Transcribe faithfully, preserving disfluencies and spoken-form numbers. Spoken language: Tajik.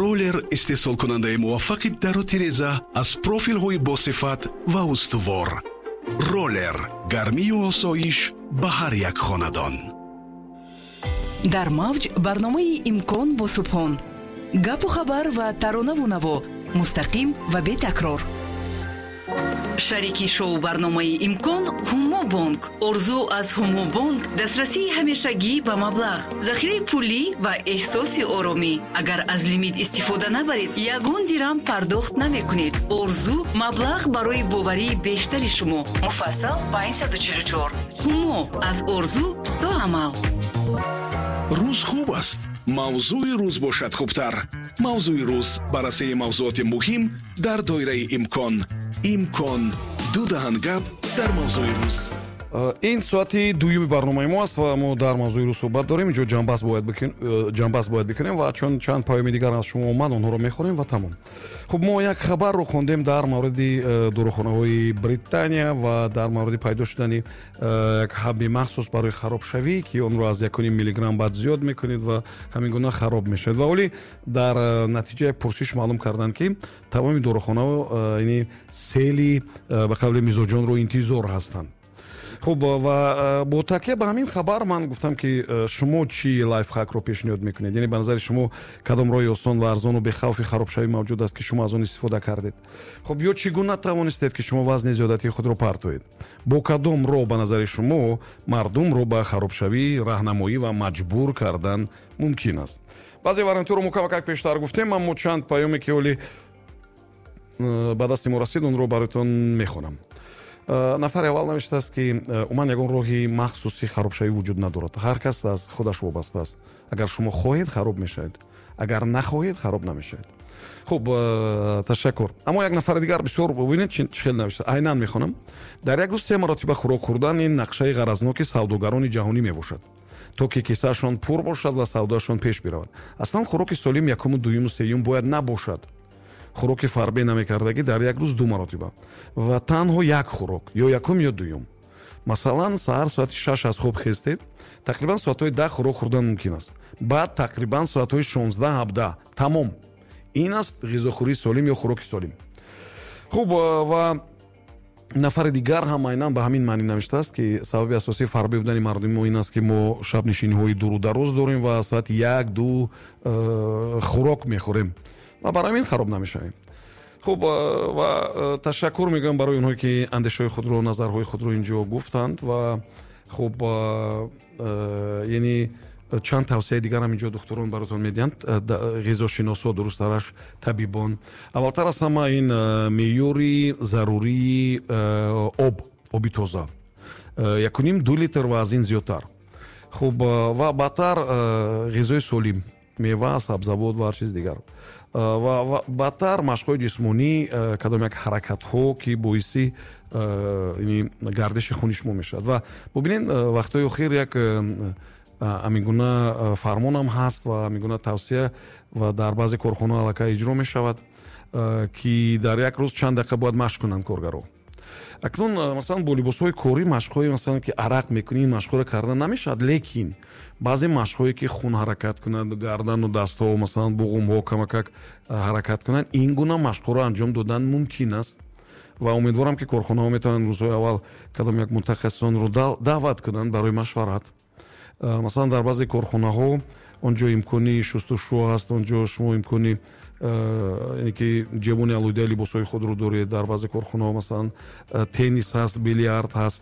Роллер истеҳсолкунандаи муваффақи дару тиреза аз профилҳои босифат ва устувор. Роллер гармию осоиш ба ҳар як хонадон. Дар мавҷ барномаи «Имкон» бо Субҳон. Гапу хабар ва таронаву наво мустақим ва бетакрор. Шарики шоу барномаи «Имкон» Ҳумо Бонк. Орзу аз Ҳумо Бонк дастрасии ҳамешагӣ ба маблағ, захираи пулӣ ва эҳсоси оромӣ. Агар аз лимит истифода набаред, ягон дирам пардохт намекунед. Орзу маблағ барои боварии бештари шумо. Муфассал панҷсаду чилу чор. Ҳумо аз орзу то амал. Рӯз хуб аст, мавзӯи рӯз бошад хубтар. «Мавзӯи рӯз» баррасии мавзӯоти муҳим дар доираи имкон. «Имкон» ду даҳан гап дар мавзӯи рӯз. Ин соати дуюми барномаи мо аст ва мо дар мавзӯи рӯз суҳбат дорем. Инҷо ҷамъбаст бояд э, ҷамъбаст бояд бикунем ва чун чанд паёми дигар аз шумо омад, онҳоро мехонем ва тамом. Хуб, мо як хабарро хондем дар мавриди э, дорухонаҳои Британия ва дар мавриди пайдо шудани э, як ҳабби махсус барои харобшавӣ, ки онро аз якуним миллиграмм баъд зиёд мекунед ва ҳамин гуна хароб мешавад. Ва олӣ дар натиҷа як пурсиш маълум карданд, ки тамоми дорухонаҳо яъне сели ба қавли мизоҷонро интизор ҳастанд. Хуб, ва бо такя ба ҳамин хабар ман гуфтам, ки шумо чӣ лайфхакро пешниҳод мекунед, яъне ба назари шумо кадом роҳи осон ва арзону бехавфи харобшавӣ мавҷуд аст, ки шумо аз он истифода кардед? Хуб, ё чӣ гуна тавонистед, ки шумо вазни зиёдатии худро партоед? Бо кадом роҳ ба назари шумо мардумро ба харобшавӣ раҳнамоӣ ва маҷбур кардан мумкин аст? Баъзе вариантҳоро мо камакак пештар гуфтем, аммо чанд паёме, ки ҳоли ба дасти мо расид, онро бароятон мехонам. Э, нафари аввал навиштааст, ки э, умуман ягон роҳи махсуси харобшавӣ вуҷуд надорад, ҳар кас аз худаш вобаста аст. Агар шумо хоҳед, хароб мешавед, агар нахоҳед, хароб намешавед. Хуб, э, ташаккур. Аммо як нафари дигар бисёр, бубинед, чӣ хел навишта, айнан мехонам: «Дар як рӯз се маротиба хӯрок хӯрдан ин нақшаи ғаразноки савдогарони ҷаҳонӣ мебошад, то ки кисаашон пур бошад ва савдоашон пеш биравад. Аслан хӯроки солим якуму дуюму сеюм бояд набошад. Хӯроки фарбе намекардагӣ дар як рӯз ду маротиба ва танҳо як хӯрок, ё якум, ё дуюм. Масалан, саҳар соати шаш аз хоб хестед, тақрибан соатҳои даҳ хӯрок хӯрдан мумкин аст, баъд тақрибан соатҳои шонздаҳ ҳабдаҳ тамом. Ин аст ғизохӯрии солим ё хӯроки солим». Хуб, ва нафари дигар ҳам айнан ба ҳамин маънӣ навиштааст, ки сабаби асосии фарбе будани мардуми мо ин аст, ки мо шабнишиниҳои дуру дароз дорем ва соати як ду э, хӯрок мехӯрем ва барои ҳамин хароб намешавем. Хуб, ва ташаккур мегӯям барои онҳое, ки андешаҳои худро, назарҳои худро инҷо гуфтанд. Ва хуб, яъне чанд тавсияи дигарам инҷо духтурон баротон медиҳанд, ғизошиносо, дурусттараш табибон. Аввалтар аз ҳама ин меъёри зарурии об, оби тоза, якуним ду литр ва аз ин зиёдтар. Хуб, ва баъдтар ғизои солим, мева, сабзавот ва ҳар чиз дигар, ва баъдтар машқҳои ҷисмонӣ, кадом як ҳаракатҳо, ки боиси гардиши хуни шумо мешавад. Ва бубинед, вақтҳои охир як ҳамин гуна фармонам ҳаст ва ҳамин гуна тавсия ва дар баъзе корхонаҳо аллакай иҷро мешавад, ки дар як рӯз чанд дақиқа бояд машқ кунанд коргаро. Акнун, масалан, бо либосҳои корӣ машқҳои, масалан, ки арақ мекунӣ, ин машқҳоро кардан намешавад, лекин баъзе машқҳое, ки хун ҳаракат кунад, гардану дастҳо, масалан, буғумҳо камакак ҳаракат кунанд, ин гуна машқҳоро анҷом додан мумкин аст. Ва умедворам, ки корхонаҳо метавонанд рӯзҳои аввал кадом як мутахассисонро даъват кунанд барои машварат. Масалан, дар баъзе корхонаҳо он ҷо имкони шустушӯ ҳаст, он ҷо шумо имкони яъне ки ҷебони алоҳидаи либосҳои худро доред. Дар баъзе корхонаҳо, масалан, теннис ҳаст, билиард ҳаст.